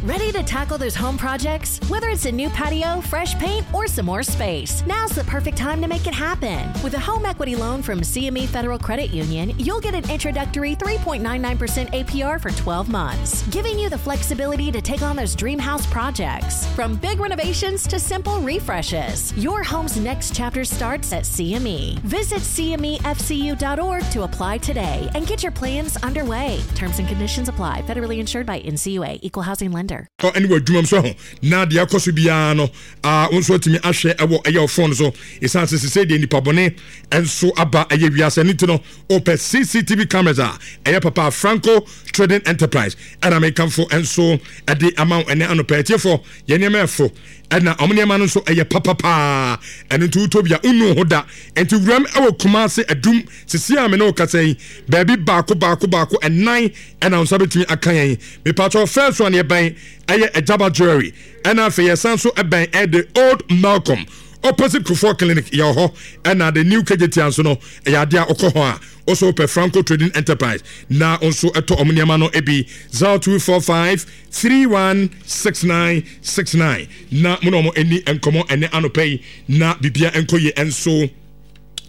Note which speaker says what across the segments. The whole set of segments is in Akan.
Speaker 1: Ready to tackle those home projects? Whether it's a new patio, fresh paint, or some more space, now's the perfect time to make it happen. With a home equity loan from CME Federal Credit Union, you'll get an introductory 3.99% APR for 12 months, giving you the flexibility to take on those dream house projects. From big renovations to simple refreshes, your home's next chapter starts at CME. Visit CMEFCU.org to apply today and get your plans underway. Terms and conditions apply. Federally insured by NCUA, Equal Housing Lender.
Speaker 2: Ɛne wɔ adwuma mu so ho na deɛ ɛkɔ so biara no wo nso atumi ahwɛ ɛwɔ ɛyɛ ɔfon so. Ɛsiane sɛ sesei deɛ nipa bɔne nso aba ɛyɛ wiase no nti no, wopɛ CCTV cameras a ɛyɛ papa, Franco Trading Enterprise ɛna mekamfo nso ɛde ama wo ɛne anɔpɛ. Atiefoɔ, yɛn nneɛma ɛfo ɛna ɔmo nneɛma no nso ɛyɛ papapaa. Ɛno nti wotɔ bi a wonnu ho da. Nti wuram ɛwɔ Kumase Adum sisi a me ne wo kasa yi, baabi baako baako baako ɛnan ɛna wo nsa bɛtumi aka yɛn. Mepatwɔ, first one yɛbɛn ɛyɛ Agyaba Jewelry, ɛna afei yɛsan so ɛbɛn ɛyɛ the Old Malcolm opposite Kufuor Clinic yɛwɔ hɔ, ɛna the new Kejetia nso no ɛyɛ adeɛ a wokɔ hɔ a wosɛ wopɛ Franco Trading Enterprise na nso ɛtɔ ɔmo nneɛma no ebi. 0245 316969 na mo na ɔmo ani nkɔmɔ ɛnɛ anɔpɛ yi na bibia nkɔ yie nso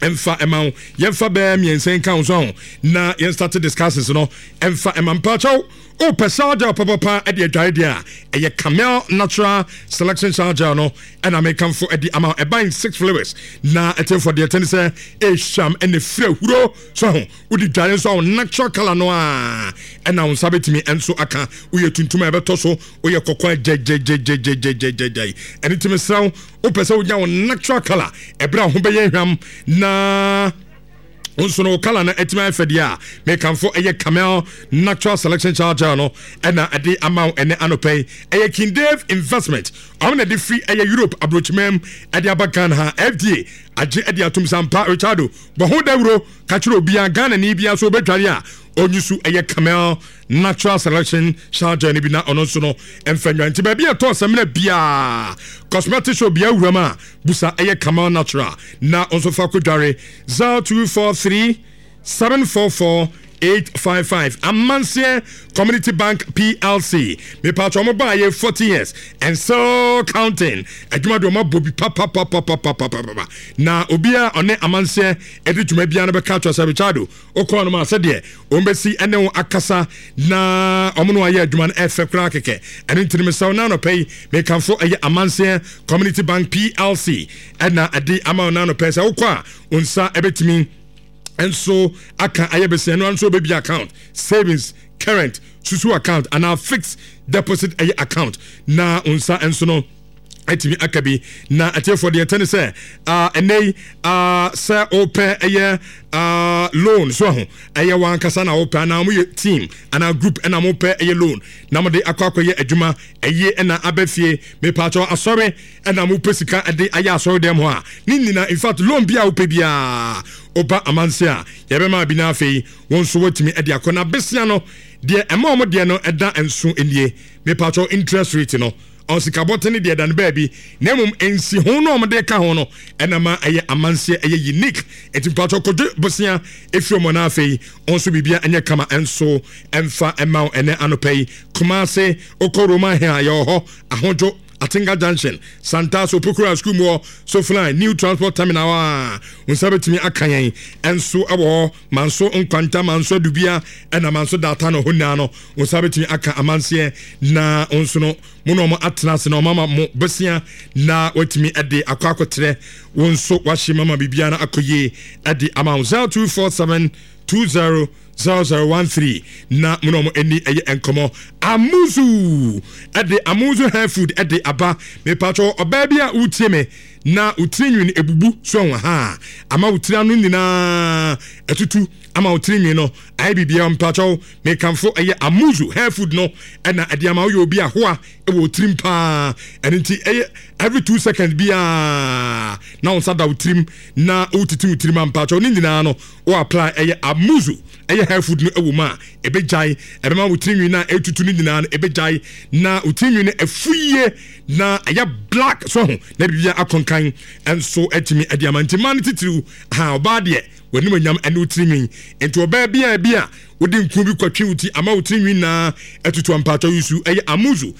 Speaker 2: ɛmfa ɛma wo. Yɛmfa bɛɛ mmiɛnsa nka wo so ho na yɛn start discussions no ɛmfa ɛma. Mpakyɛw, wopɛ shower gel papapa ɛde adware deɛ a, ɛyɛ Camel Natural Selection Shower Gel no ɛna mekamfo ɛde ama. Ɛban six flowers na ɛtɛmfo deɛ ɛtɛne sɛ ɛhwam ɛna fira huro so ho. Wode dware nso a, wo natural color no a ɛna wo nsa bɛtumi nso aka. Woyɛ tuntum a, ɛbɛtɔ so. Woyɛ kɔkɔɔ a, gyɛgyɛgyɛgyɛgyɛgyɛgyɛ. Ɛno nti mesrɛ wo, wopɛ sɛ wonya wo natural color ɛberɛ a ho bɛyɛ hwam na nso no wo color no atumi ayɛ fɛ deɛ a, mekamfo ɛyɛ Camel Natural Selection Shower Gel no ɛna ɛde ama wo ɛnɛ anɔpɛ yi. Ɛyɛ King Dave Investment ɔmo na ɛde firi ɛyɛ Europe aburokyimam ɛde aba Ghana ha. FDA agye ɛde atum sampa. Richardo, bɔ ho dawuro ka kyerɛ obiara, Ghana ni biara so wobɛdware a, ɔnyi so ɛyɛ Camel Natural Selection Shower Gel no bi na ɔno nso no ɛmfa nwa. Nti baabi a ɛtɔ sɛmina biara, cosmetic shop biara wuram a, busa ɛyɛ Camel Natural na ɔnso fa kɔdware. 0243 744 855. Amanseɛ Community Bank PLC, mepatwa ɔmo baa yɛ 40 years and still counting. Adwuma de ɔmo abɔ bi papapapapapapa na obiara ɔne amanseɛ ɛde dwuma biara no bɛka atwa sɛ Richardo wokɔɔ no ma sɛdeɛ wɔn bɛsi ɛne wo akasa na ɔmo no ayɛ adwuma no ɛfɛ koraa kɛkɛ. Ɛno nti no mesɛw na anɔpɛ yi mekamfo ɛyɛ Amanseɛ Community Bank PLC ɛna ɛde ama wo na anɔpɛ sɛ wokɔ a, wo nsa ɛbɛtumi nso aka ayɛ bɛsɛn no nso wobɛbi account, savings, current, susu account anaa fixed deposit ɛyɛ account na wo nsa nso no atumi aka bi. Na atiefoɔ, deɛ ɛtɛ ne sɛ ɛnɛ yi sɛ wopɛ ɛyɛ loan so ho, ɛyɛ wankasa na wopɛ anaa moyɛ team anaa group ɛna mopɛ ɛyɛ loan na mode akɔ akɔyɛ adwuma ɛyie ɛna aba fie, mepaakyɛw, asɔre ɛna mopɛ sika ɛde ayɛ asɔre dɛm hɔ a ne nyinaa, in fact loan bi a wopɛ biara, woba amanse a, yɛbɛma bi. Na afei wɔn nso watumi ɛde akɔ. Na besia no deɛ ɛma wɔn deɛ no ɛda nso nie. Mepaakyɛw, interest rate no ɔsikabɔtene deɛ da no baabi, na mmom nsi ho no a wɔde ka ho no ɛna ma ɛyɛ amanseɛ ɛyɛ unique. Nti mpatwɔ kodwo bosea efiri wɔn na afei nso biribia ɛnyɛ kama ɛnso ɛmfa ɛma wo ɛnɛ anɔpɛ yi. Kumase, okɔ Roman Hill a, yɛwɔ hɔ. Ahodwo, Atinga Junction, Santaso, Opokura School mu hɔ, Sofline New Transport Terminal a, nsa bɛtumi aka yɛn ɛnso ɛwɔ hɔ. Manso Nkwanta, Manso Adubia, ɛna Manso Data no hɔ nyinaa no, nsa bɛtumi aka amanseɛ na nso no mo na ɔmo atena ase na ɔmo ama mo bɛsia na watumi ɛde akɔ akɔtrɛ wo nso wahye mama biribiara no akɔ yie ɛde ama wo. 0247 20 0013 na mo na ɔmo ani ɛyɛ nkɔmɔ. Amuzu ɛde Amuzu Hair Food ɛde aba. Mepatwɔ, ɔbaa bi a wotie me na wotiri nwin ebubu so ɛho ha ama wotiri ano nyinaa ɛtutu ama wotiri nwin no ayɛ biribiara, mpatwɔ, mekamfo ɛyɛ Amuzu Hair Food no ɛna ɛde ama. Woyɛ obi ahoa ɛwɔ tirim paa, ɛno nti ɛyɛ every 2 seconds biara na wo nsa da wo tirim na wotiti wo tirim a, mpatwɔ, ne nyinaa no wo apply ɛyɛ Amuzu ɛyɛ hair food no ɛwɔ mu a, ɛbɛgyae. Ɛbɛma wo tirinwi no a ɛtutu no nyinaa no ɛbɛgyae na wo tirinwi no ɛfu yie na ɛyɛ black so ho na biribia akɔnkan ɛnso atumi ɛde ama. Nti mmaa no titiriw ha, ɔbaa deɛ w'anim anyam ɛne wo tirinwi. Nti ɔbaa biara bi a wode nku bi kɔtwe wo ti ama wo tirinwi nyinaa atutu, ampatwɔ, yusu ɛyɛ Amuzu.